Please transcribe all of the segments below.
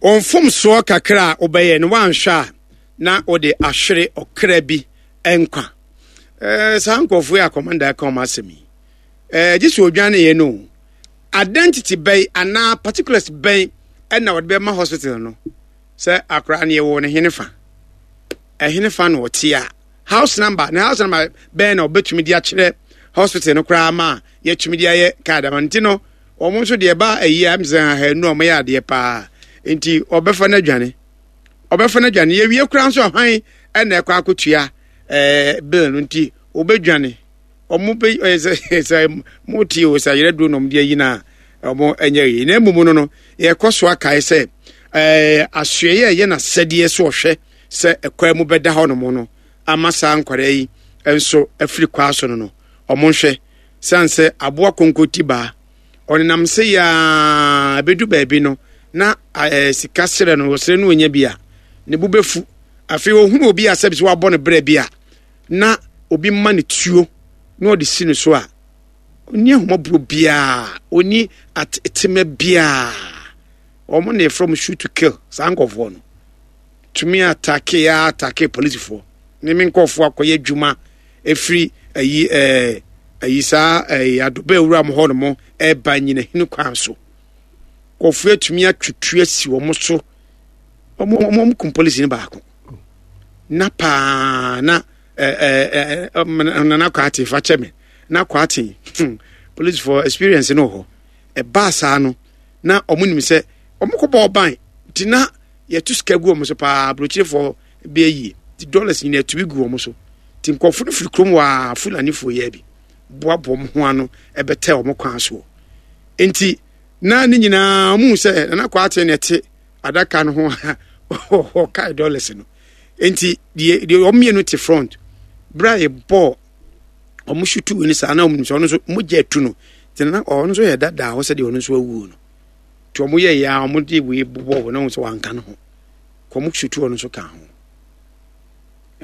Wo mfomsoɔ kakra a wobɛyɛ no woanhwɛ a na wode ahwere ɔkra bi nkwa. Ɛɛ saa nkurɔfoɔ yi a kɔmanda ɛka wɔn asɛm yi, ɛɛ gye sɛ odwaneeɛ no identity bɛn anaa particulars bɛn ɛna wɔde bɛma hospital no sɛ akwaraa no yɛwɔ ne hene fa ɛhene fa na ɔte a house number ne house number bɛn na ɔbɛtumi de akyerɛ hospital no koraa ma yɛtumi de ayɛ card ama nti no wɔn nso deɛ ɛba ayi a sɛ ahanu a wɔyɛ adeɛ paa nti ɔbɛfa no adwane ɔbɛfa no adwane yɛwie koraa nso ahwan ɛna ɛkɔ akɔtua ɛɛ bill no nti ɔbɛdwane wɔn bɛ ɛɛ sɛ sɛ mo tie o sɛ ayerɛ duro na wɔn de ayi na wɔn ɛnyɛ yie na mmom no no yɛkɔ so akae sɛ ɛɛ asoɛyɛ ɛyɛ n'asɛdeɛ so ɔhwɛ sɛ ɛkwan mu bɛda hɔ nom no ama saa nkwadaa yi nso afiri kwaa so no no wɔn nhwɛ san sɛ aboa konko ti baa ɔnenam se yaa ebedu baabi no na ɛɛ sika serɛ no ɔsrɛ no onya bi a ne bo bɛfu afei ohunu obi a sɛbi sɛ wabɔ no brɛ bi a na obi ma no tuo na ɔde si no so a ɔnni ahummɔborɔ biara ɔnni atema biara wɔn na yɛfrɛ wɔn shoot to kill saa nkɔfoɔ no tumi atake ya atake polisifoɔ ne me nkɔfoɔ akɔyɛ adwuma ɛfiri ayi ɛɛ ayi saa ɛɛ adoba awura mo hɔ nom ɛɛba nyinahini kwan so kɔfoɔ atumi atwitwi asi wɔn so wɔn wɔn kum polisi no baako na paa na ɛɛ ɛɛ nana kwaate fa kyɛ me na kwaate hmm polisifoɔ experience no wɔ hɔ ɛbaa saa no na wɔn nim sɛ wɔn kɔ bɔ ɔban ti na yɛto sika gu wɔn so paa aburokyerefoɔ bi ayie ti dollars nyinaa tumi gu wɔn so ti nkurɔfo no firi kurom waa fulanifoɔ yɛ bi boaboa wɔn ho ano ɛbɛtɛ wɔn kwan soɔ nti na ne nyinaa wɔn sɛ nana kwaate na ɛte adaka no ho a ɔkae dollars no nti deɛ deɛ wɔn mmienu te front bere a yɛbɔɔ wɔn sutu wei no saa na wɔn nim sɛ ɔno nso mogya atu no nti na ɔno nso yɛ dada hɔ sɛdeɛ ɔno nso awuo no nti wɔn yɛ yɛ a wɔn de wei bobɔ wɔn na wɔn sɛ wanka no ho kɔ wɔn sutu ɔno nso ka ho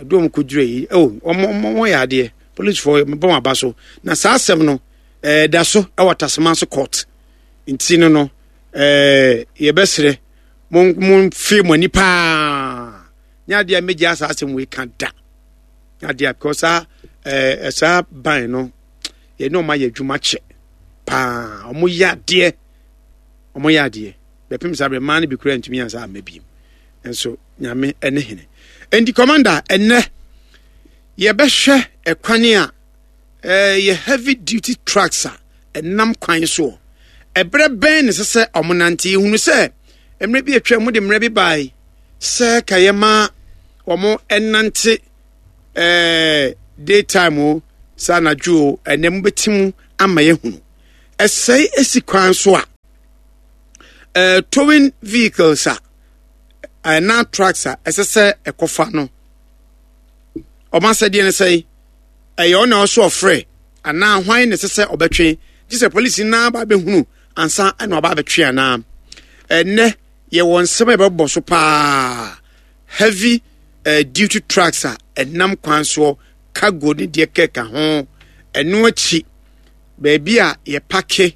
ɛdu wɔn kɔ dwere yi ɛwɔ wɔn wɔn wɔn yɛ adeɛ polisifoɔ bɔ wɔn aba so na saa asɛm no ɛɛda so ɛwɔ tasoma so court nti no no. ɛɛ yɛbɛsrɛ mo momfe mo ani paa nyɛ adeɛ a mɛgya saa asɛm wei ka da nyɛ adeɛ a because saa ɛɛ saa ban no yɛne ɔma yɛ adwuma kyɛ paa ɔmo yɛ adeɛ ɔmo yɛ adeɛ bɛpem saa berɛ mmaa no bi kura ntumi ansa amma biem nso nyame ɛne hene nti commander ɛnɛ yɛbɛhwɛ ɛkwan a Ɛyɛ heavy duty trucks a ɛnam kwan soɔ. Ɛberɛ bɛn na ɛsɛ sɛ wɔnante? Yɛhunu sɛ mmerɛ bi atwa mu de mmerɛ bi bae sɛ ka yɛma wɔn ɛnante ɛɛ daytime o sɛ anadwo o ɛnɛ mobɛti mu ama yɛhunu. Ɛsɛe esi kwan so a ɛɛ towing vehicles a ɛna trucks a ɛsɛ sɛ ɛkɔfa no wɔn asɛdeɛ no sɛe. Ɛyɛ ɔna ɔsɛ ɔfrɛ anaa hwan na ɛsɛ sɛ ɔbɛtwe? Gye sɛ polisi no ara ba bɛhunu ansa na ɔba abɛtwe anaa? Ɛnnɛ yɛwɔ nsɛm a yɛbɛbɔ so paa heavy uh, duty trucks a ɛnam kwan soɔ cargo ne deɛ kɛka ho ɛno akyi baabi a yɛpake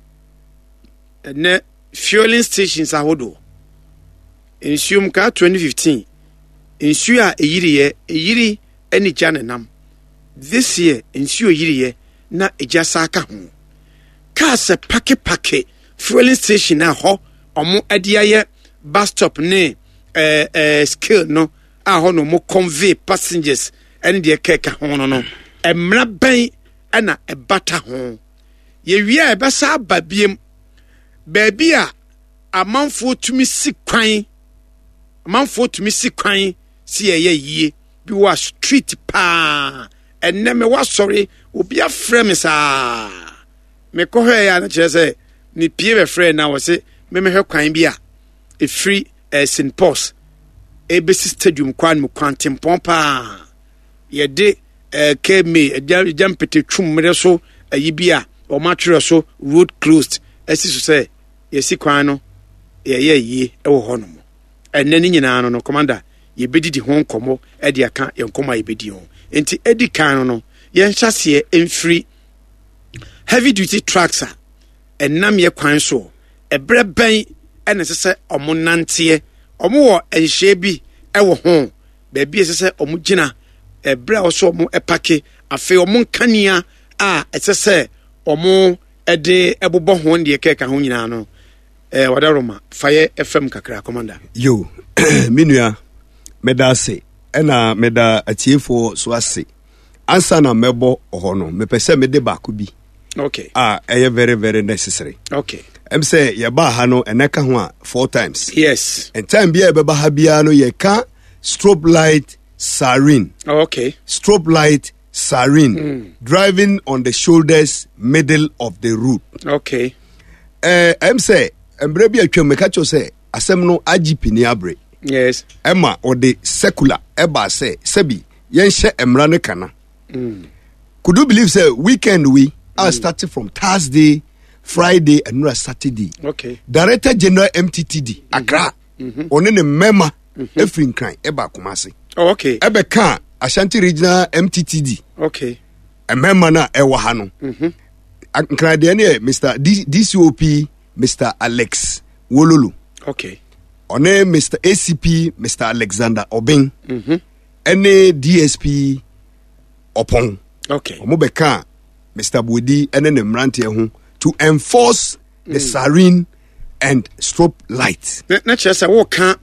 ɛnɛ fueling stations ahodoɔ nsuom kaa 2015 nsuo a ɛyiriɛ ɛyiri ɛne gya na ɛnam. This year nsuo yiriiɛ na egya saa ka ho. Cars pake pake fueling station a hɔ ɔmo ɛde ayɛ bus stop ne ɛɛ ɛɛ scale no a hɔ na ɔmo convey passengers ɛne deɛ kɛka ho no no mmara bɛn ɛna ɛbata ho. Yɛwie a ɛbɛsa aba biem baabi a amanfoɔ tumi si kwan amanfoɔ tumi si kwan si yɛyɛ yie. bi wɔ street paa ɛnɛ me wasɔre obi afrɛ me saa mekɔhwɛ yɛ a no kyerɛ sɛ ne pie bɛfrɛ na wɔ se memehwɛ kwan bi a ɛfiri eh, st pauls ɛbɛsi stadium kwan mu kwantempɔn paa yɛde eh, kma agya mpete twum mmerɛ so ayi bi a wɔn atwerɛ so road closed asi so sɛ yɛsi kwan no yɛyɛ yie wɔ hɔ nom Ɛnnɛ ne nyinaa no no, Commander, yɛbɛdidi ho nkɔmmɔ de aka yɛn nkɔmmɔ a yɛbɛdi ho. Nti ɛdi kan no no, yɛnhyɛ aseɛ mfiri heavy duty trucks a ɛnam yɛ kwan soɔ. Ɛberɛ bɛn ɛna ɛsɛ sɛ ɔmo nanteɛ? Wɔn wɔ nhyehyɛe bi wɔ ho, baabi a ɛsɛ sɛ wɔn gyina, ɛberɛ a wɔsɛ wɔn pake, afei wɔn nkanea a ɛsɛ sɛ wɔn de bobɔ ho deɛ kɛka ho nyinaa no. Eh, wadaroma, fa yɛ fam kakra, Commander. Yo, me nua, meda ase, ɛna meda atiefoɔ so ase. Ansa na mɛbɔ hɔ no, mepɛ sɛ mede baako bi. Okay. A ɛyɛ very very necessary. Okay. Ɛm sɛ yɛbaa ha no ɛnɛ ka ho a four times. Yes. And time bi a yɛbɛba ha biara no yɛka strobe light siren. Oh, okay. Strobe light siren. Driving on the shoulders middle of the road. Okay. Ɛɛ ɛm sɛ mmerɛ bi atwam meka kyerɛ sɛ asɛm no IGP ni abere. Yes. Ɛma ɔde secular ɛbaa sɛ sɛbi yɛnhyɛ mmara no kana. Could you believe say weekend we are starting from Thursday, Friday, and now Saturday. Okay. Director General MTTD Accra. Ɔne ne mmarima efiri Nkran ɛba Kumasi. Oh, okay. Ɛbɛka Ashanti Regional MTTD. Okay. Mmarima no a ɛwɔ ha no. Nkran deɛ no yɛ Mr. D DCOP Mr. Alex Wololo. Okay. Ɔne Mr. ACP Mr. Alexander Obeng. Ɛne DSP Ɔpɔn. Okay. Wɔn bɛka Mr. Buedi ɛne ne mmeranteɛ ho to enforce the siren and strobe light. Na kyerɛ sɛ woka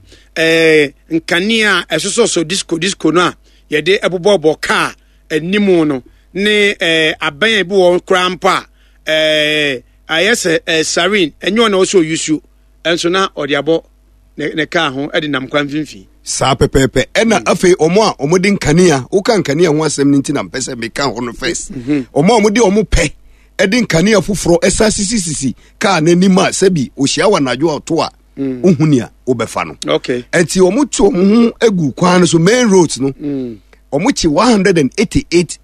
nkanea a ɛsosɔsɔ disco disco no a yɛde ɛbobɔbɔ kaa anim no ne abɛn a ebi wɔ koraa mpo a ayɛ sɛ siren ɛnyɛ ɔna ɔsɛ ɔyusu ɛnso na ɔde abɔ ne kaa ho de nam kwan mfimfini. Saa pɛpɛɛpɛ. Ɛna afei wɔn a wɔde nkanea, woka nkanea ho asɛm no nti na mpɛ sɛ meka hɔ no first. Wɔn a wɔde wɔn pɛ de nkanea foforɔ ɛsan sisisisi kaa n'anim a sɛbi ohyia wɔ anadwo a ɔto a wohu nea wobɛfa no. Okay. Ɛnti wɔn to wɔn ho gu kwan no so main roads no. Wɔn kye 188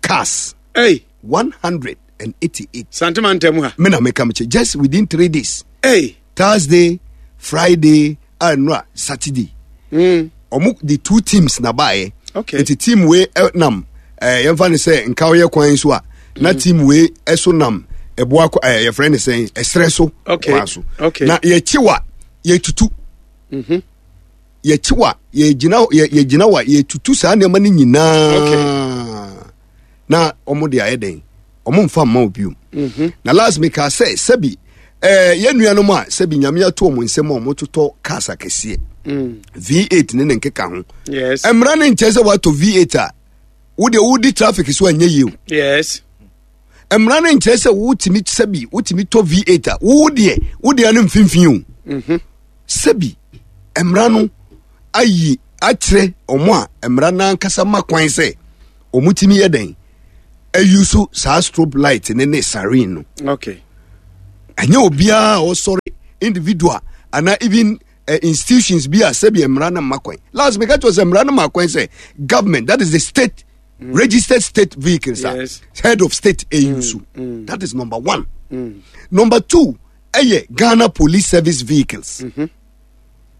cars. Hey. 188. Santema ntam ha. Me na meka mekyɛ just within 3 days. Hey. Thursday, Friday, and no Saturday. Ɔmo the two teams na baayɛ. Okay. Nti team wei nam yɛmfa ne sɛ nka ɔyɛ kwan so a na team wei ɛso nam ɛboa yɛfrɛ ne sɛn ɛserɛ so Okay. kwan so. Okay. Na yɛkyi wa yɛtutu. Yɛkyi wa yɛgyina yɛgyina wa yɛtutu saa nneɛma no nyinaa. Okay. Na ɔmo de ayɛ dɛn? Ɔmo nfa mma obiom. Na last meka sɛ sɛbi yɛn nuanom a sɛbi Nyame ato ɔmo nsɛm a ɔmo totɔ cars akɛseɛ. V8 ne ne nkeka ho. Yes. Mmara ne nkyɛn sɛ watɔ V8 a wo deɛ wodi traffic so anyɛ yie o. Yes. Mmara ne nkyɛn sɛ wotumi sɛbi wotumi tɔ V8 a wo deɛ wo deɛ no mfimfini o. Sɛbi mmara no ayi akyerɛ ɔmo a mmara n'ankasa ma kwan sɛ ɔmo tumi yɛ dɛn ayi so saa strobe light ne ne siren no. Okay. Ɛnyɛ obiara a ɔsɔre individual ana even institutions bi a sɛbi mmara no ma kwan. Last meka kyerɛ sɛ mmara no ma kwan sɛ government, that is the state registered state vehicles a Yes. head of state ɛyi so. That is number one. Number two ɛyɛ Ghana Police Service vehicles.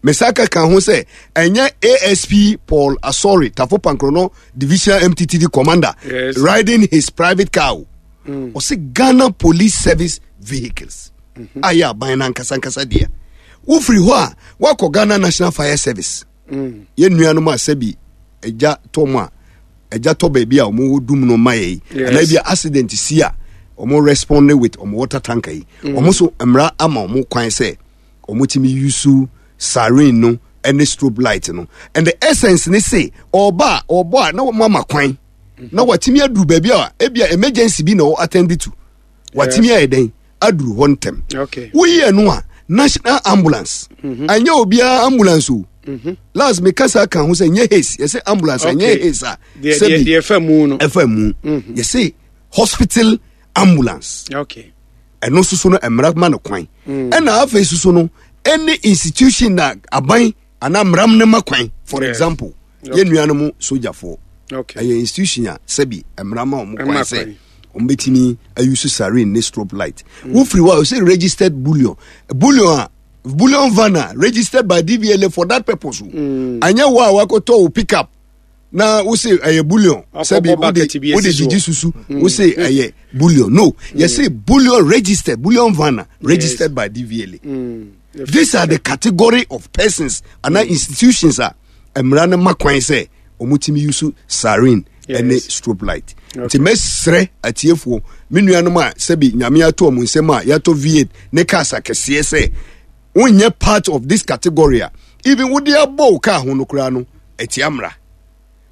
Mesaka ka ho sɛ ɛnyɛ ASP Paul Asori Tafo Pankrono Divisional MTTD commander Yes. riding his private car o. Ɔsɛ Ghana Police Service vehicles a yɛ aban no ankasa ankasa deɛ. Wofiri hɔ a wakɔ Ghana National Fire Service. Yɛn nuanom a sɛbi agya tɔ mu a agya tɔ baabi a wɔn dum no ma yɛ yi. Yes. Anaa bi a accident si a wɔn respond with wɔn water tanker yi. Wɔn nso mmara ama wɔn kwan sɛ wɔn tumi use siren no ne strobe light no. And the essence ne se ɔba a ɔbɔ a na wɔn ama kwan na watumi aduru baabi a ebi a emergency bi na ɔ attend to. Watumi ayɛ dɛn aduru hɔ ntɛm. Okay. Woyi ɛno a national ambulance. Anyɛ obiara ambulance o. Last me kasa ka ho sɛ nyɛ haste yɛsɛ ambulance anyɛ Okay. haste a Deɛ sɛbi deɛ ɛfa mu no. ɛfa mu yɛsɛ hospital ambulance. Okay. Ɛno nso so no mmara ma no kwan. Ɛna afei soso no ɛne institution na aban anaa mmara no ma kwan. For example yɛn nuanom sogyafoɔ. Okay. Ɛyɛ institution a sɛbi mmara ma wɔn kwan Ɛma sɛ kwan. wɔn bɛtumi ayusu siren ne strobe light. Wofiri hɔ a wɔsɛ registered bullion bullion a bullion van a registered by DVLA for that purpose o. Anyɛ wo a wakɔtɔ wo pickup na wose ɛyɛ bullion Wakɔbɔ sɛbi wode bucket bi wode asi soɔ. gyigyi susu wose ɛyɛ bullion no yɛsɛ bullion registered bullion van a registered by DVLA. These are the category of persons anaa institutions a mmara no ma kwan sɛ wɔtumi use siren ɛne strobe light. Nti mɛsrɛ atiefoɔ, me nuanom a sɛbi Nyame ato wɔn nsam a yɛatɔ V8 ne cars akɛseɛ sɛ wonyɛ part of this category a, even wode abɔ wo car ho no koraa no ɛtia mmara.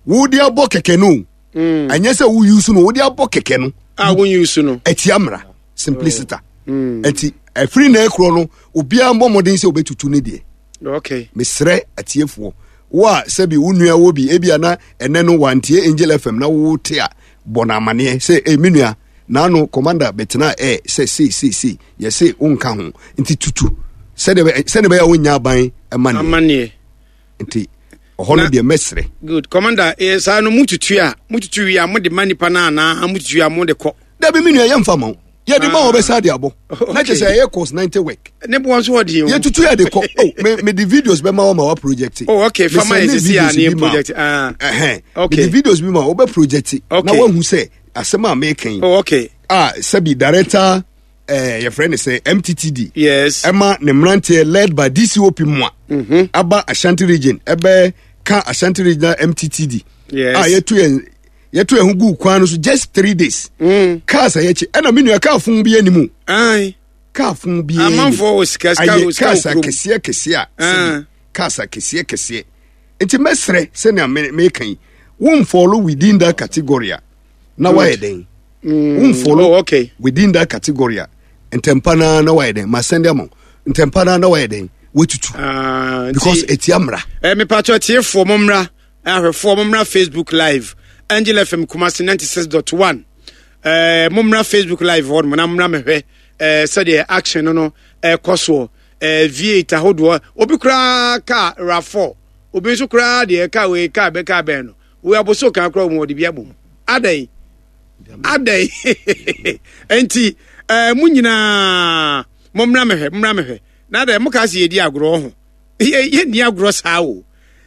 Wode abɔ kɛkɛ no, ɛnyɛ sɛ wo use no, wode abɔ kɛkɛ no a wo use no ɛtia mmara simpliciter. Ɛnti ɛfiri na ɛkorɔ no obiara mbɔ mmɔden sɛ wobɛtutu ne deɛ. Okay. Mesrɛ atiefoɔ, wo a sɛbi wo nua wɔ bi ebia na ɛnɛ no wantie Angel FM na wote a, bɔ no amaneɛ sɛ e me nua naano commander bɛtena ɛ sɛ sei sei sei yɛse wonka ho nti tutu sɛdeɛ bɛyɛ a wonnya aban amaneɛ. Nti ɔhɔ no deɛ mɛsrɛ. Good commander, eh, saa no mututu a mututu wie a mode ma nipa no anaa mututu a mode kɔ? Dabi me nua, yɛmfa ma wo, yɛde ma wɔbɛsa de abɔ na kyɛ sɛ ɛyɛ course 90 work. Ne boɔ nso ɔde o. Yɛtutu yɛde kɔ. Oh, me me de videos bɛma wɔ ma wa project. Oh okay, fa ma yɛ sisi a ne project. Ah ɛhɛn, okay, me de videos bi ma wɔbɛ project na wahu sɛ asɛm a meka yi. Oh okay. A sɛbi director yɛfrɛ ne sɛ MTTD. Yes. Ɛma ne mmeranteɛ led by DCOP mua aba Ashanti region ɛbɛ ka Ashanti regional MTTD. Yes. A yɛtu yɛn yɛto yɛn ho gu kwan no so just 3 days. Cars a yɛkyi ɛna me nua car fun bi anim. Car fun bi anim. Amanfoɔ wɔ sika, sika wɔ sika wɔ kurom. Cars akɛseɛ kɛseɛ a sɛbi cars akɛseɛ kɛseɛ nti mɛsrɛ sɛnea meka yi, won follow within that category a na wayɛ dɛn? Won follow oh, okay. within that category a, ntɛmpa naa na wayɛ dɛn? Ma send ama ntɛmpa naa na wayɛ dɛn? Watutu because etia mmara. Ɛ mepatɔ tiefoɔ mo mmra, ahwɛfoɔ mo mmra Facebook live, Angel FM Kumasi 96.1. Mo mmra Facebook live hɔ nom na mmra mehwɛ sɛdeɛ action no ɛkɔ soɔ. V8 ahodoɔ, obi koraa kaa RAV4, obi nso koraa deɛ kaa wei kaa bɛ kaa bɛn no wei aboso kan koraa wɔn wɔde bi abom adɛn adɛn? Nti mo nyinaa mo mmra mehwɛ, mmra mehwɛ na adɛn mo kaa sɛ yɛdi agorɔ ho? Yɛnni agorɔ saa o.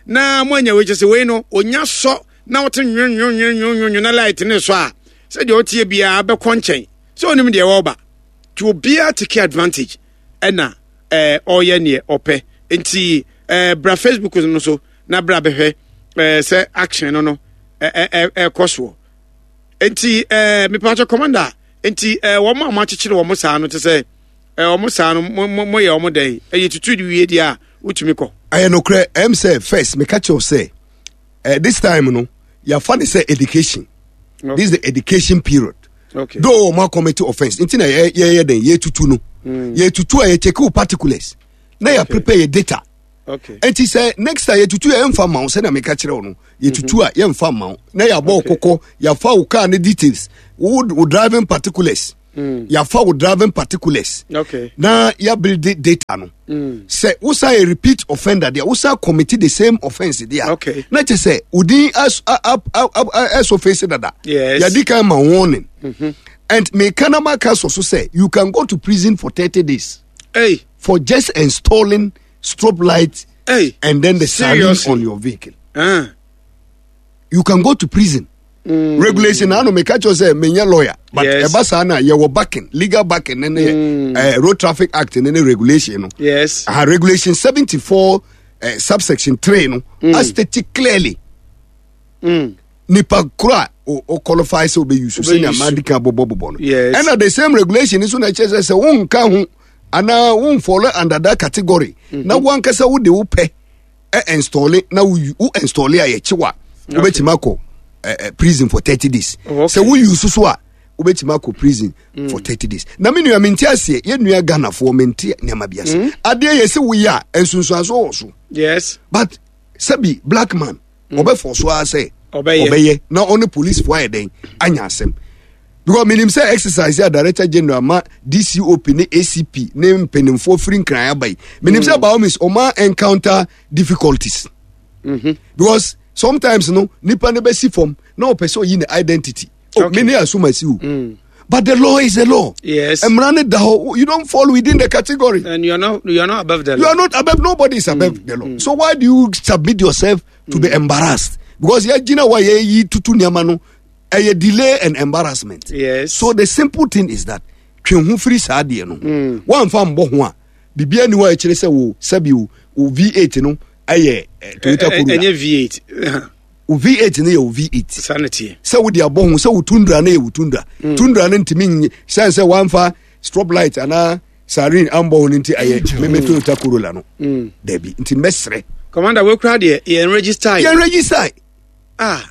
Na mo anya wei kyɛ sɛ wei no onya sɔ na wote nwonwonwonwonwo na light ne sɔ a, sɛdeɛ ɔteɛ biara bɛkɔ nkyɛn sɛ onim deɛ wɔreba, nti obiara take advantage ɛna ɔreyɛ neɛ ɔpɛ. Nti bra Facebook no so na bra bɛhwɛ sɛ action no ɛkɔ soɔ. Nti mepatwɛ commander, nti wɔn a wɔakyekyere wɔn saa no te sɛ wɔn saa no mo yɛ wɔn dɛn? Ɛyɛ tutu de wie deɛ a wotumi kɔ. Ɛyɛ nokorɛ. Ɛm sɛ first meka kyerɛw sɛ this time no yɛafa ne sɛ education. Okay. This is the education period. Okay. Though wɔn commit offence nti na yɛyɛ dɛn yɛtutu no. Yɛtutu a yɛcheck wo particulars na yɛ prepare yɛ data. Okay. Nti sɛ next time yɛtutu yɛ yɛmfa ma wo, sɛnea meka kyerɛ wo no, yɛtutu a yɛmfa ma wo na yɛabɔ wo kɔkɔ, yɛafa wo car ne details, wo driving particulars. Yɛafa wo driving particulars. Okay. Na yɛabuild data no. Sɛ wosan yɛ repeat offender deɛ, wosan commit the same offence deɛ a, na kyɛ sɛ wo din ɛso face dada. Yes. Yɛdi kan ma warning. And meka na maka sɔ so sɛ you can go to prison for 30 days Hey. for just installing strobe light Hey. and then the siren Seriously? on your vehicle. You can go to prison. Regulation na ano meka kyerɛ sɛ menyɛ lawyer, but ɛba saa na yɛwɔ backing, legal backing ne Road Traffic Act ne regulation no. Regulation 74 subsection 3 no a state clearly nipa koro a o qualify sɛ ɔbɛyi so sɛnea madi kan bɔbɔbɔbɔ no. Yes. Ɛna the same regulation nso na ɛkyerɛ sɛ wonka ho anaa wonfollow under that category na wankasa wode wo pɛ ɛ install na wo install a yɛkye wa, wobɛtumi akɔ prison for 30 days. Oh, okay. Sɛ wo use so a, wobɛtumi akɔ prison for 30 days. Na me nua, mente aseɛ, yɛ nua Ghanafoɔ mente nneɛma bi ase. Adeɛ yɛ sɛ woyɛ a nsunsuansoɔ wɔ so. But sɛbi black man ɔbɛfɔ so ara sɛ Ɔbɛyɛ. Ɔbɛyɛ na ɔne policefoɔ ayɛ dɛn anya asɛm, because menim sɛ exercise a director general ma DCOP ne ACP ne mpanimfoɔ firi Nkran aba yi, menim sɛ by all means ɔma encounter difficulties because sometimes no nipa no bɛsi fam na ɔpɛ sɛ ɔyi ne identity. Oh, me ne asomasi o, but the law is the law. Mmara ne da hɔ, you don't fall within the category. And you are not above the You law. are not above, nobody is above the law. So why do you submit yourself to be embarrassed? Because yɛgyina hɔ a yɛyi tutu nneɛma no, ɛyɛ delay and embarrassment. Yes. So the simple thing is that twe ho firi saa adeɛ no. Woamfa mbɔ ho a, Biribiara ni hɔ a ɛkyerɛ sɛ wo sɛbi wo V8 no ɛyɛ Toyota Corolla. Ɛnyɛ V8. Wo V8 no yɛ wo V8. Saa na teɛ. Sɛ wode abɔ ho sɛ wo Tundra no yɛ wo Tundra. Tundra no ntumi nye sɛn sɛ wamfa strobe light anaa siren ambɔ ho no nti ɛyɛ meme Toyota Corolla no. Dabi nti mɛsrɛ. Commander wo kura deɛ yɛn register. Yɛn register. Ah.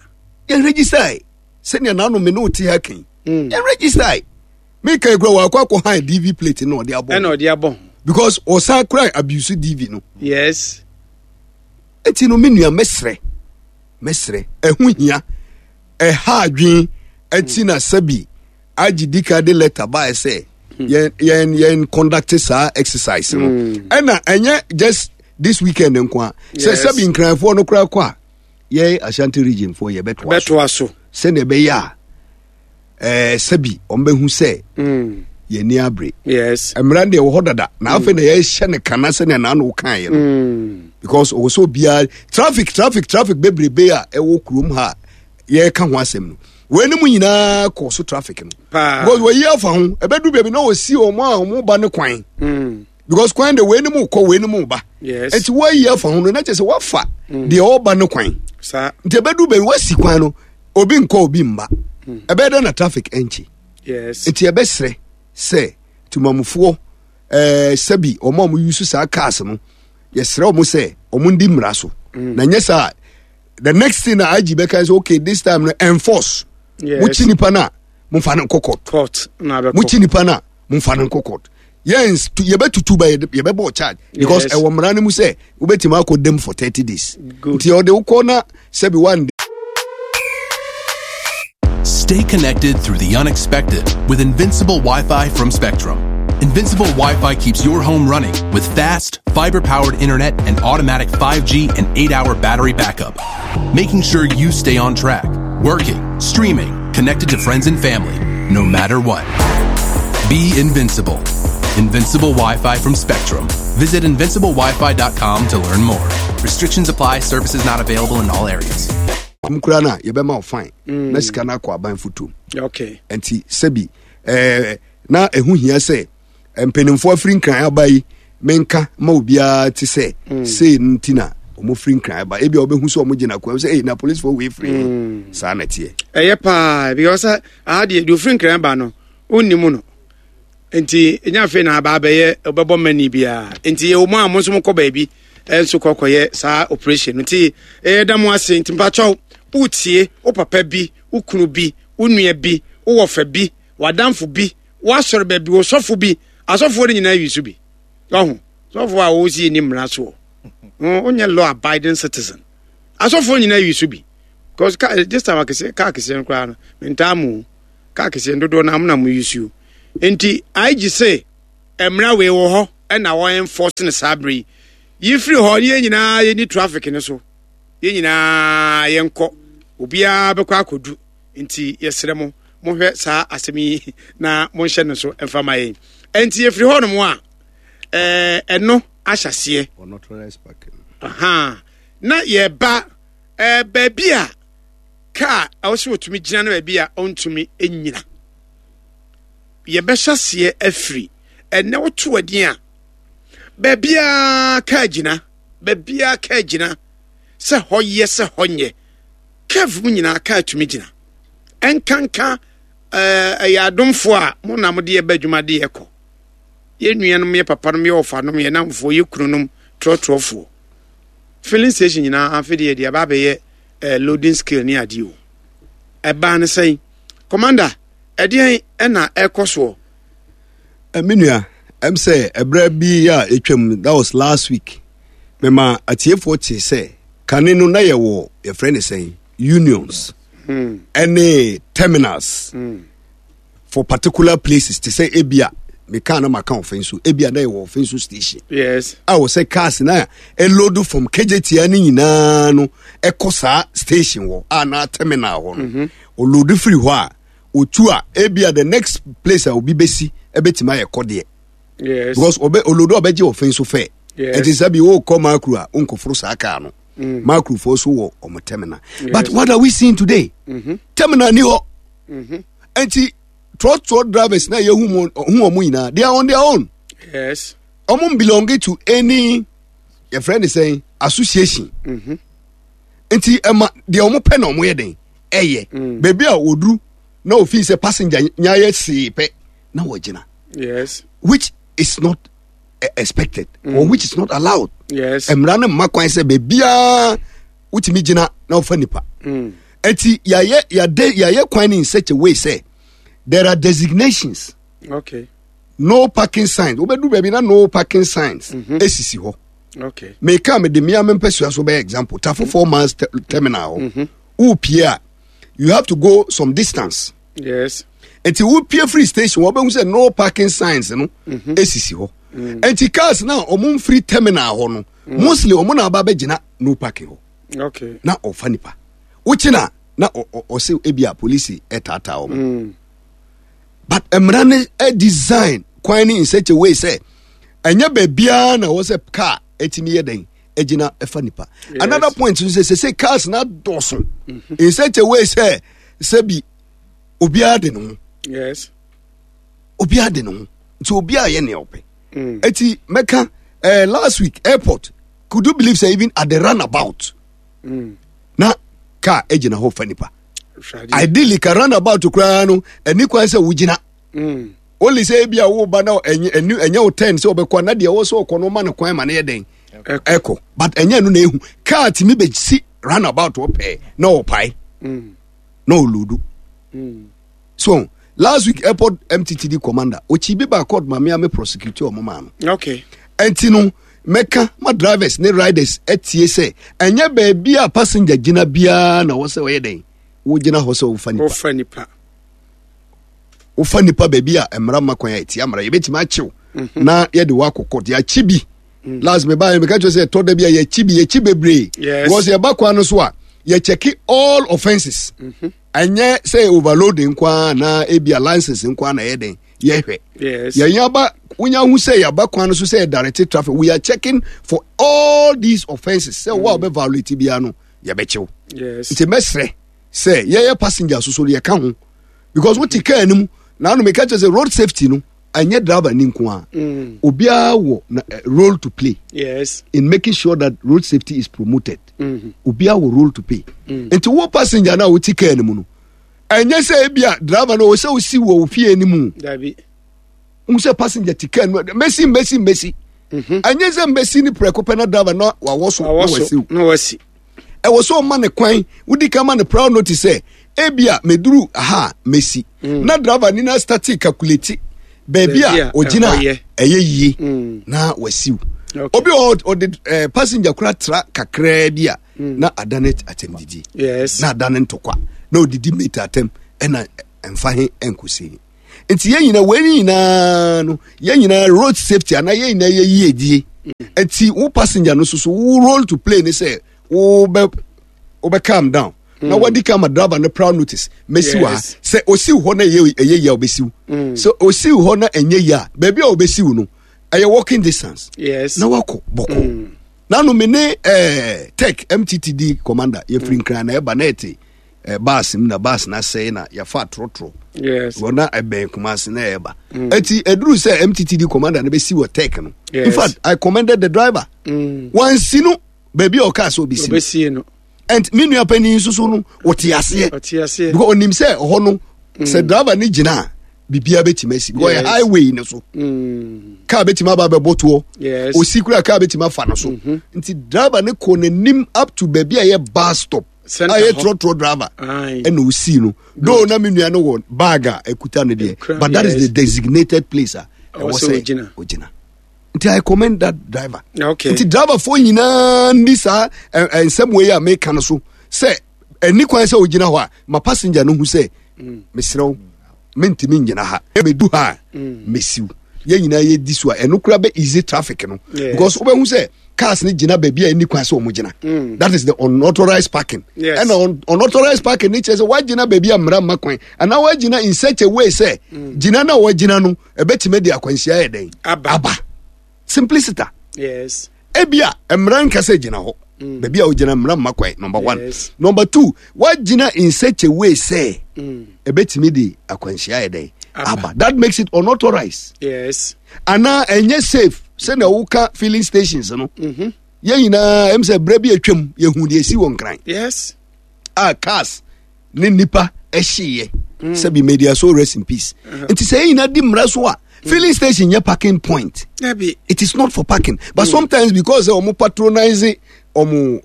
Yɛn register. Sɛnea n'ano me ne wo te ha kan. Yɛn register. Me kan kura wakɔ akɔ han DV plate na ɔde abɔ. Ɛna ɔde abɔ ho. Because ɔsan kura abuse DV no. Yes. Eti no me nua mɛsrɛ mɛsrɛ ɛho hia ɛha adwen ɛti na sɛbi agye dika de letter baɛ sɛ yɛn yɛn yɛn conduct saa exercise no ɛna ɛnyɛ just this weekend nko a sɛ sɛbi nkranfoɔ no koraa kɔ a yɛn Ashanti region foɔ yɛbɛtoa so sɛnea ɛbɛyɛ a ɛɛ sɛbi wɔn bɛhu sɛ yɛn ani abere yes mmara deɛ wɔ hɔ dada na afei na yɛhyɛ ne kana sɛnea n'ano kan yɛ no because ɔwɔ sɛ obiara traffic traffic traffic bebrebe a ɛwɔ kurom ha yɛreka ho asɛm no wɔn anim nyinaa kɔ so traffic no because wɔyi afa ho ɛbɛdu baabi na wɔsi wɔn a wɔn ba ne kwan because kwan de wɔn anim kɔ wɔn anim ba nti wɔayi afa ho no na kyerɛ sɛ wɔafa deɛ ɔba ne kwan nti ɛbɛdu baabi wɔasi kwan no obi nkɔ obi mma ɛbɛyɛ dɛ na traffic ɛnkye nti ɛbɛsrɛ sɛ tumamufoɔ ɛɛ sɛbi wɔn a wɔn yusu saa cars no yɛsrɛ wɔn sɛ wɔn ndi mmara so na nyɛ saa the next thing na IG bɛka sɛ okay this time no enforce mo kyi nipa na mo fa no nkɔ court mo kyi nipa na mo fa no nkɔ court yɛn yɛbɛtutu ba yɛbɛbɔ charge because ɛwɔ mmara no mu sɛ wobɛtumi akɔ dam for 30 days nti ɔde wokɔ na sɛbi one Stay connected through the unexpected with Invincible Wi-Fi from Spectrum. Invincible Wi-Fi keeps your home running with fast, fiber-powered internet and automatic 5G and 8-hour battery backup, making sure you stay on track, working, streaming, connected to friends and family, no matter what. Be invincible. Invincible Wi-Fi from Spectrum. Visit invinciblewifi.com to learn more. Restrictions apply. Services not available in all areas. mu koraa no a yɛbɛma wo fine na sika no akɔ aban fotom okay nti sɛbi eh, na ɛho hia sɛ mpanimfoɔ afiri nkran aba yi menka ma obiara te sɛ sei no nti na wɔn firi nkran aba ebi a wɔbɛhu sɛ wɔn gyina kwan sɛ ei na polisifoɔ wei firi he saa na ɛteɛ ɛyɛ paa because sɛ aha deɛ deɛ ofiri nkran ba no wonnim no nti ɛnya afei na aba abɛyɛ ɔbɛbɔ mani biara nti yɛwɔ mu a mo nso mokɔ baabi nso kɔkɔyɛ saa operation no nti ɛyɛ mo ase nti mpakyɛw wotie wo papa bi wo kunu bi wo nua bi wo wɔfa bi w'adamfo bi w'asɔre baabi wo sɔfo bi asɔfoɔ no nyinaa yi so bi ɔho sɔfo a wɔsi ni mmara soɔ wonyɛ law abiding citizen asɔfoɔ nyinaa yi so bi because car this time akɛseɛ car kɛseɛ no koraa no mentaa mu car kɛseɛ no dodoɔ no amena mo yi so nti IG sɛ mmara wei wɔ hɔ ɛna wɔn enforce no saa bere yi yi firi hɔ ne yɛn nyinaa yɛni traffic no so yɛn nyinaa yɛnkɔ obiara bɛkɔ akɔdu nti yɛsrɛ mo mohwɛ saa asɛm yi na monhyɛ no so mfa ma yɛn nti yɛfiri hɔ nom a ɛno ahyɛseɛ aha na yɛba baabi a kaa ɛwɔ sɛ wɔtumi gyina no baabi a ɔntumi nyina yɛbɛhyɛ aseɛ afiri ɛnɛ woto adin a baabiaa kaa gyina baabiaa kaa gyina sɛ hɔ yɛ sɛ hɔ nyɛ curve mu nyinaa kaa tumi gyina ɛnkanka ɛyɛ adomfoɔ a mo na mo de yɛba adwuma de yɛkɔ yɛ nuanom yɛ papanom yɛ ɔfanom yɛ namfoɔ yɛ kununom trɔtrɔfoɔ filling station nyinaa afe deɛ deɛ aba abɛyɛ loading scale ne adeɛ o ɛbaa no sɛn commander ɛdeɛn ɛna ɛkɔ soɔ. Me nua ɛm sɛ ɛberɛ bi a ɛtwam that was last week mema atiefoɔ te sɛ kane no na yɛwɔ yɛfrɛ ne sɛn unions ɛne terminals for particular places te sɛ ebia meka na maka ɔfɛn so ebia na yɛwɔ ɔfɛn so station yes a wɔ sɛ cars na ɛload from kejetia ne nyinaa no ɛkɔ saa station hɔ a na terminal hɔ no ɔload firi hɔ a otu a ebia the next place a obi bɛsi ɛbɛtumi ayɛ kɔdeɛ yes because ɔbɛ olodo a ɔbɛgye ɔfɛn so fɛ Yes. ɛnti sɛ bi wokɔ makro a wonkɔforo saa kaa no makrofoɔ so wɔ ɔmo terminal but what are we seeing today terminal ni hɔ ɛnti trɔtrɔ drivers na yɛhu hu ɔmo nyinaa they are on their own yes. Ɔmo belong to any yɛfrɛ ne sɛn association. Nti ɛma deɛ ɔmo pɛ na ɔmo yɛ den ɛyɛ. Baabi a oduru na ofin sɛ passenger nya yɛ see pɛ na wɔgyina. Yes. Which is not expected or which is not allowed. Yes. Mmara no mma kwan sɛ baabiara wotumi gyina na wofa nipa. Nti yɛayɛ yɛade yɛayɛ kwan no in such a way sɛ there are designations. Okay. No parking signs. Wobɛdu baabi na no parking signs esisi hɔ. Okay. Meka mede mmea me mpɛsua so bɛyɛ example. Tafo 4 miles terminal hɔ. Wopie a you have to go some distance. Yes. Nti wopie free station wɔbɛhu sɛ no parking signs no esisi hɔ. Nti cars na ɔmo mfiri terminal hɔ no mostly ɔmo na aba bɛgyina no parking hɔ. Okay. Na ɔfa nipa. Wokyi na na ɔsɛ ebi a polisi ɛtaataa ɔmo. But mmara no design kwan no in such a way sɛ ɛnyɛ baabiara na ɛwɔ sɛ car ɛtumi yɛ dɛn ɛgyina ɛfa nipa. Yes. Another point nso sɛ sɛ cars na dɔɔso in such a way sɛ sɛbi obiara de ne ho. Yes. Obiara de ne ho nti obiara yɛ nea ɔpɛ. Eti mɛka last week airport, could you believe say even at the roundabout na car egyina hɔ fa nipa. Ideally ka roundabout koraa no ɛni kwan sɛ wogyina. Only sɛ ebi a woba na ɛnyɛ ɛnyɛ wo ten sɛ ɔbɛkɔ na deɛ ɛwɔ sɛ ɔkɔ no ɔma no kwan ma no yɛ dɛn ɛkɔ, but ɛnyɛ no na ehu car tumi bɛ si roundabout ɔpɛɛ na ɔpae na ɔludu. So last week airport MTTD commander okyi bi ba court ma me a me prosecute ɔmo maa no. Okay. Ɛnti no mɛka ma drivers ne riders ɛtie sɛ ɛnyɛ baabi a passenger gyina biara na wɔ sɛ ɔyɛ dɛn wogyina hɔ sɛ wofa nipa. Wofa nipa. Wofa nipa baabi a mmara ma kwan a ɛtia mmara yɛbɛtumi akyew na yɛde wɔ akɔ court yɛakyi bi. Last me baa meka kyerɛ sɛ ɛtɔ da bi a yɛakyi bi, yɛkyi bebree. Yes. Because yɛba kwan no so a yɛkyɛke all offences. Ɛnyɛ sɛ overloading nko ara na ebi a license nko ara na ɛyɛ den yɛhwɛ. Yes. Yɛn aba wonya hu sɛ yɛaba kwan no so sɛ yɛ traffic, we are checking for all these offences sɛ wo a wobɛ violate biara no yɛbɛkyew. Yes. Nti mɛsrɛ sɛ yɛyɛ passenger so so yɛka ho because wote car no mu na ano meka kyerɛ sɛ road safety no ɛnyɛ driver ni nko a, obiara wɔ na role to play Yes. in making sure that road safety is promoted. Obiara wɔ role to play. Nti wo passenger na wote car no mu no ɛnyɛ sɛ ebi a driver no wɔ sɛ wosi wɔ wo fie no mu. Dabi. N sɛ passenger te car no mɛsi mɛsi mɛsi, ɛnyɛ sɛ mbɛsi ne prɛko pɛ na driver na wawɔ so na Awɔ wasi so wo. na wasi. Ɛwɔ sɛ ɔma ne kwan, wodi kan ma ne prior notice sɛ ebia meduru aha a mɛsi, na driver ni na start calculate baabi Baabi a a ogyina ɛhɔ a yɛ. ɛyɛ yie na wasiw. Okay. Obi wɔ hɔ, ɔde passenger kora tra kakraa bi a na adane atɛmdidi Yes. na adane ntɔkwa na odidi mate atɛm ɛna ɛmfa he ɛnkɔsi he. Nti yɛn nyinaa wei nyinaa no yɛn nyinaa road safety anaa yɛn nyinaa yɛ yiedie. Nti wo passenger no soso wo role to play ne sɛ wo bɛ wo bɛ calm down na wadi kan ma driver no prior notice mɛsi wɔ ha. Yes. Sɛ osiw hɔ na ɛyɛ yie a obɛsiw, sɛ osiw hɔ na ɛnyɛ yie a baabi a obɛsiw no ɛyɛ walking distance Yes. na wakɔ bɔkɔ. Nanu me ne tech MTTD commander yɛfiri Nkran na ɛba na ɛte bus mu na bus na asɛe na yɛfa trɔtrɔ. Yes. Wɔn na ɛbɛn Kumasi na ɛba eti eduru sɛ MTTD commander no bɛsi wɔ tech no. Yes. In fact, I commended the driver. Wansi no baabi a ɔkaa sɛ obɛsi no. Obesie no. And me nua panyin nso so no wɔte aseɛ Ɔte aseɛ. because onim sɛ ɔhɔ no sɛ driver no gyina a biribiara bɛtumi asi because ɔyɛ Yes. highway no so car bɛtumi aba abɛbɔ toɔ. Yes. Osi kura car bɛtumi afa no so, nti driver no kɔ n'anim up to baabi a ɛyɛ bus stop Center a ɛyɛ hɔ. trɔtrɔ driver Aye. ɛna osii no, though na me nua no wɔ bag a ɛkuta no deɛ, but that is yes. the designated place a Ɛwɔ ɛwɔ sɛ sɛ ogyina. ogyina. Nti I commend that driver. Okay. Nti driverfoɔ nyinaa ndi saa nsɛm wei a meka no so sɛ ɛni kwan sɛ ogyina hɔ a ma passenger no hu sɛ mesrɛ wo mentumi ngyina ha, medu ha a mesiw. Yɛn nyinaa yɛdi so a ɛno kora bɛ easy traffic no. Yes. Because wobɛhu sɛ cars no gyina baabi a ɛni kwan sɛ ɔmo gyina, that is the unauthorized parking. Yes. Ɛna unauthorized parking ne kyerɛ sɛ woagyina baabi a mmara mma kwan anaa woagyina in such a way sɛ gyina no a woagyina no ɛbɛtumi de akwanhyia yɛ dɛn Aba. aba. Simpliciter. Yes. Ebia mmara nka sɛ gyina hɔ baabi a wogyina mmara mma kwan, number one. Yes. Number two, woagyina in such a way sɛ ɛbɛtumi de akwanhyia yɛ dɛn Aba. aba, that makes it unauthorized Yes. anaa ɛnyɛ safe. Sɛnea woka filling stations no, yɛn nyinaa ɛm sɛ berɛ bi atwam yɛhu deɛ ɛsi wɔ Nkran. Yes. A cars ne nipa ɛhyeeɛ sɛbi may their soul rest in peace. Nti sɛ yɛn nyinaa di mmara so a, filling station nyɛ parking point. Dabi. It is not for parking, but sometimes because ɔmo patronize ɔmo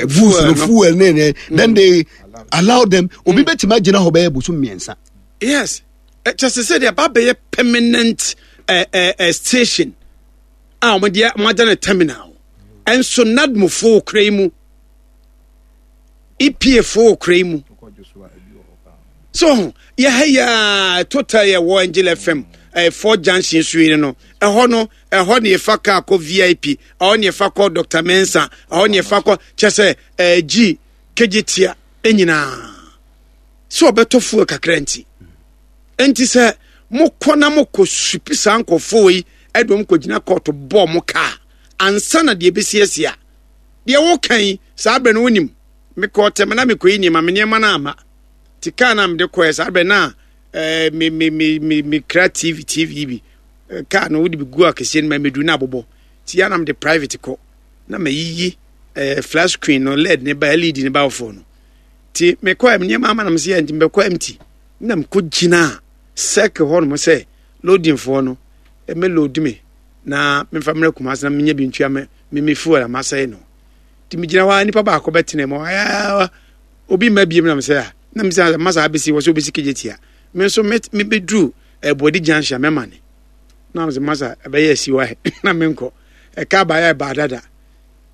goods no, fuel ne ne, then they allow them. Obi bɛtumi agyina hɔ bɛyɛ bosom 3. Yes, kyɛ sɛ deɛ ba bɛyɛ permanent station a wɔn de wɔn agya no terminal. Ɛnso NADMO fo kura yi mu, EPA fo kura yi mu so yɛha yi a, Total yɛ wɔ Angel FM four junction so yi no, ɛhɔ no, ɛhɔ ne yɛfa kaa kɔ VIP, ɛhɔ ne yɛfa kɔ Dr Mensa, ɛhɔ ne yɛfa kɔ kyɛ sɛ G Kejetia nyinaa sɛ ɔbɛtɔ fuel kakra. Nti sɛ mokɔ na mokɔ supi saa nkɔfoɔ yi ɛde wɔn kɔgyina kɔɔto bɔɔ mo kaa ansa na deɛ ɛbɛsi a deɛ woka yi, saa berɛ no wonim mekɔɔ tɛm na mekɔyi nneɛma, me nneɛma no ama nti kaa no a mede kɔɛ saa berɛ no a me me me me me kra TV bi kaa no wode bi gu akɛseɛ no ma mɛduru no abobɔ, nti yɛ na mede private kɔ na mayiyi flat screen no led ne ba LED ne ba foɔ no. Nti mekɔɛ me nneɛma ama na mesɛ yɛ nti mebɛkɔ empty na mekɔ gyina circle hɔ nom sɛ loading foɔ no ɛmɛ load me na memfa mmerɛ Kumase na menya bi ntua me fuel a masɛe no. Nti megyina hɔ a, nipa baako bɛtena mu, obi mma biem na mesɛ a na mesɛ masa abɛsi wɔ sɛ wobɛsi Kejetia, me nso mebɛduru Ɛboadi junction a mɛma ne na mesɛ masa ɛbɛyɛ asi hɔ na menkɔ ɛka baeɛ ɛbaa dada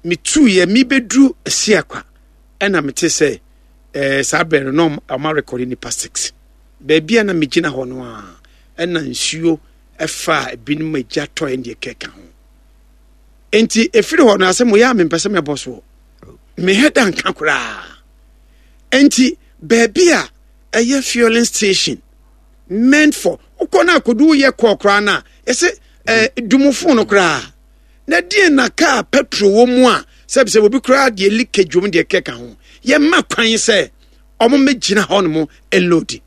metuiɛ mebɛduru Asiakwa ɛna mete sɛ saa berɛ no na ɔma rekɔde nipa 6 baabi a na megyina hɔ no a ɛna nsuo ɛfa a ebinom agya tɔɛ deɛ kɛka ho. Nti ɛfiri hɔ no asɛm yɛ a mempɛ sɛ mɛbɔ soɔ mehɛ da nka koraa. Nti baabi a ɛyɛ fueling station meant for wokɔ no akɔdu woyɛ kɔɔ koraa no a ɛsɛ dumufo no koraa na deɛ na kaa petrol wɔ mu a sɛbisɛ obi koraa deɛ leakage wɔ mu deɛ kɛka ho, yɛma kwan sɛ ɔmo mɛgyina hɔ nom ɛloadi.